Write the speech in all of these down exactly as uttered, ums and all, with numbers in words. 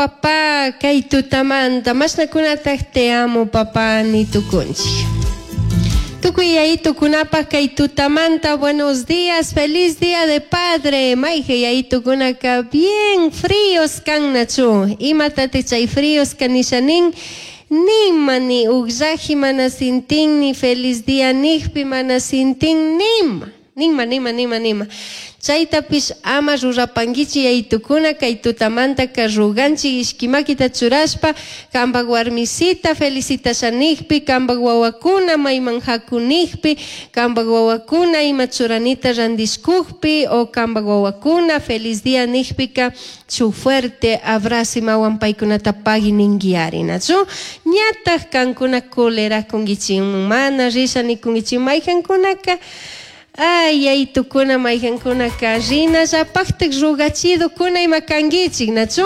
Papá, kay tutamanta, mashnakunataj te amo, papá, ni tukunchik. Tukuy yayitukunapaj kay tutamanta, buenos días, feliz día de padre. Mayje yayitukunaka bien fríos kan nachu. Imatatij chay fríos kanisha nin? Nima ni ugllaji mana sintin, ni feliz día nijpi mana sintin, nima. Nima, nima, nima, nima. Chaytapish ama rurapankichik yayitukuna kay tutamantaka ruganchik ishkimakita churashpa kampak warmisita felicitasha nijpi, kampak wawakuna mayman hakunijpi, kampak wawakuna ima churanita randishkukpi o kampak wawakuna feliz día nijpika shuk fuerte abrazo imawan paykunata pagui ninkiari, nachu? Ñataj kankuna culerakunkichik, mana risha nikunkichik mayjankunaka. Ay, yayitukuna mayjankunaka rinallapaktik rugachidukuna ima kankichik, nachu?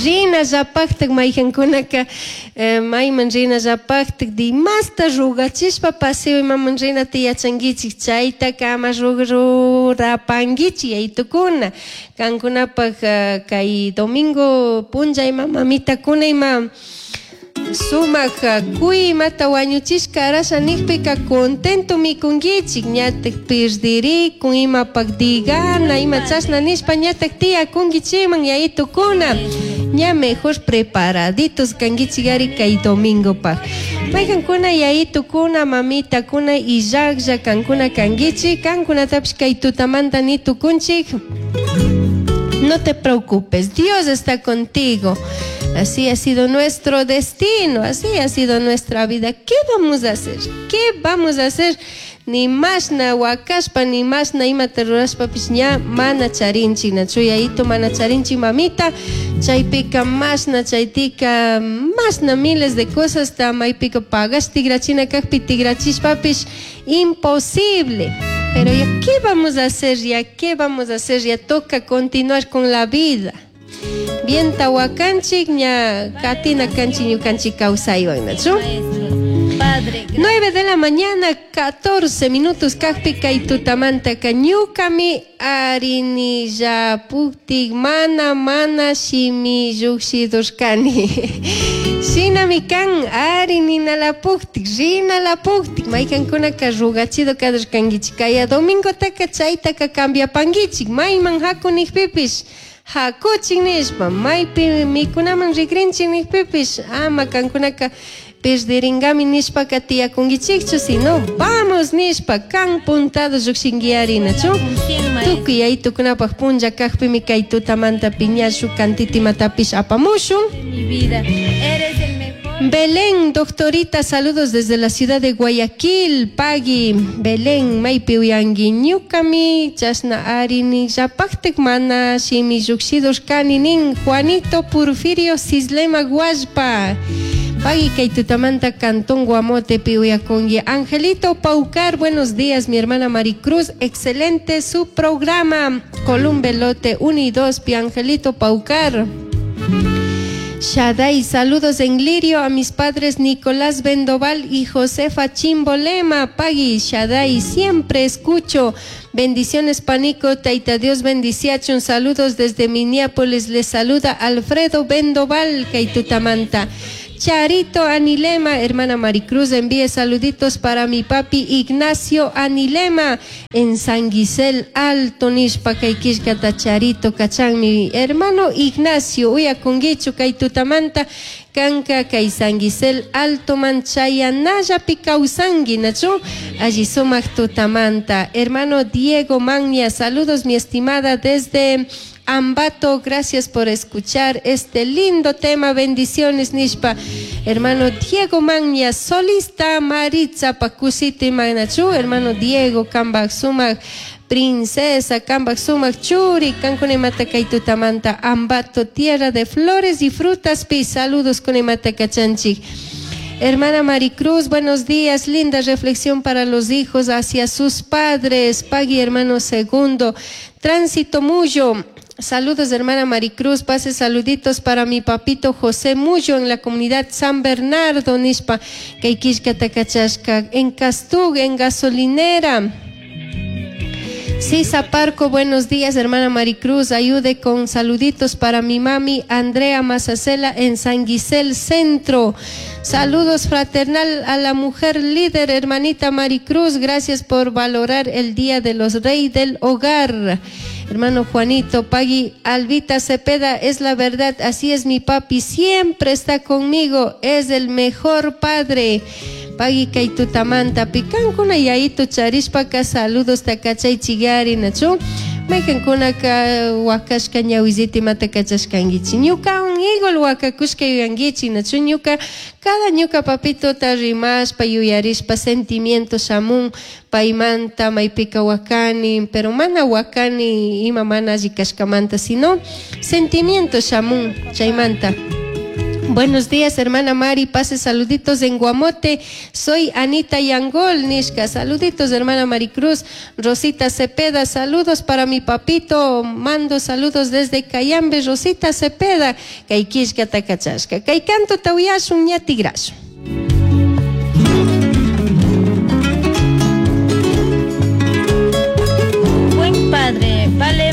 Rinallapaktik mayjankunaka eh, mayman rinallapaktik dimasta rugachishpa paseo imaman rinata yachankichik, chaytaka ama rurapankichik yayitukuna. Kankunapak uh, kay domingo punlla ima mamitakuna ima sumak kuy imata wañuchishka arasha nijpika contento mikunkichik, ñatak pirdirikun imapak digana ima chashna nishpa ñatak tiyakunkichikman yayitukuna. Ña mejor preparaditos kankichik ari kay domingopaj. Mayjankuna yayitukuna mamitakuna illaklla kankuna kankichik, kankunatapish kay tutamanta ni tukunchik. No te preocupes, Dios está contigo. Así ha sido nuestro destino, así ha sido nuestra vida. ¿Qué vamos a hacer? ¿Qué vamos a hacer? Ni mashna wakashpa, ni mashna imata rurashpapish ña mana charinchik, nachu yayito mana charinchik mamita, chaypika mashna chaytika mashna miles de cosas ta maypika pagash tigrachina kajpi tigrachishpapish imposible. Pero ya, ¿qué vamos a hacer? Ya, ¿qué vamos a hacer? Ya toca continuar con la vida. Bien tawakanchik ña katina kanchik ñukanchik kawsaywan, nachu? Padre, nueve de la mañana, catorce minutos, kajpi kay tutamantaka ñukami arinillapuktik mana mana shimi llukshidurkani. Shinami kan arininalapuktik, rinalapuktik, maykankunaka rugachido kadurkankichik. Kaya domingotaka chaytaka cambiapankichik, mayman hakunijpipish hakuchik nishpa, maypi mikunaman rikrinchik nijpipish, ama kankunaka perderingami nishpaka tiyakunkichikchu, sino vamos nishpa kan puntado llukshinkiari, nachu? Tukuy yayitukunapaj punlla kajpimi kay tutamanta piñashu kantitimatapish apamushun. Mi vida, eres el mejor. Belén, doctorita, saludos desde la ciudad de Guayaquil. Pagui, Belén, maypi uyangi ñukami, chashna arini, llapaktik mana shimi llukshidurkani nin, Juanito Porfirio Cislema Guaspa. Pagui kay tutamanta Cantón Guamote piuyakungi. Angelito Paucar, buenos días, mi hermana Maricruz, excelente su programa. Columbelote uno y dos, pi Angelito Paucar. Shaday, saludos en Lirio a mis padres Nicolás Vendoval y Josefa Chimbolema. Pagui, Shaday, siempre escucho. Bendiciones, Panico, Taita Dios bendiciachun. Saludos desde Minneapolis. Les saluda Alfredo Vendoval, Kaitutamanta. Charito Anilema, hermana Maricruz, envíe saluditos para mi papi Ignacio Anilema en San Gisel Alto, nishpa kay killkata Charito kachan mi hermano Ignacio, uyakunguichu kay tutamanta, kanka kay San Gisel Alto manchayanallapi kawsanki, nachu, alli sumak tutamanta. Hermano Diego Magna, saludos mi estimada desde Ambato, gracias por escuchar este lindo tema, bendiciones nishpa. Hermano Diego Magna, solista Maritza Pacusiti Magnachu, hermano Diego kambak sumak princesa, kambak sumak churi, kankunemata kaitutamanta, Ambato, tierra de flores y frutas, pi, saludos kunemata kachanchik. Hermana Maricruz, buenos días, linda reflexión para los hijos hacia sus padres. Pagui, hermano segundo. Tránsito Mullo, saludos hermana Maricruz, pase saluditos para mi papito José Mullo en la comunidad San Bernardo, nishpa, kay killkata kachashka, en Castug, en gasolinera. Sisa Parco, buenos días, hermana Maricruz. Ayude con saluditos para mi mami Andrea Mazacela en San Guisel Centro. Saludos fraternal a la mujer líder, hermanita Maricruz. Gracias por valorar el Día de los Reyes del Hogar. Hermano Juanito, Pagui, Albita Cepeda, es la verdad, así es mi papi, siempre está conmigo, es el mejor padre. Pagui kay tutamanta pikankuna yayitu charishpaka saludos takachay chigari nachu maykankunaka wakashka ñawisita imata kachashkankichik ñukawan igual wakakushka yuyankichik nachu ñuka cada ñuka papitota rimashpa yuyarishpa sentimiento shamun paymanta maypika wakani, pero mana wakani ima mana alli kashkamanta, sino sentimiento shamun chaymanta. Buenos días, hermana Mari. Pase saluditos en Guamote. Soy Anita Yangol, nishka. Saluditos, hermana Maricruz. Rosita Cepeda, saludos para mi papito. Mando saludos desde Cayambe. Rosita Cepeda. Kay killkata kachashka. Kay cantota uyashun ña tigrashun. Buen padre vale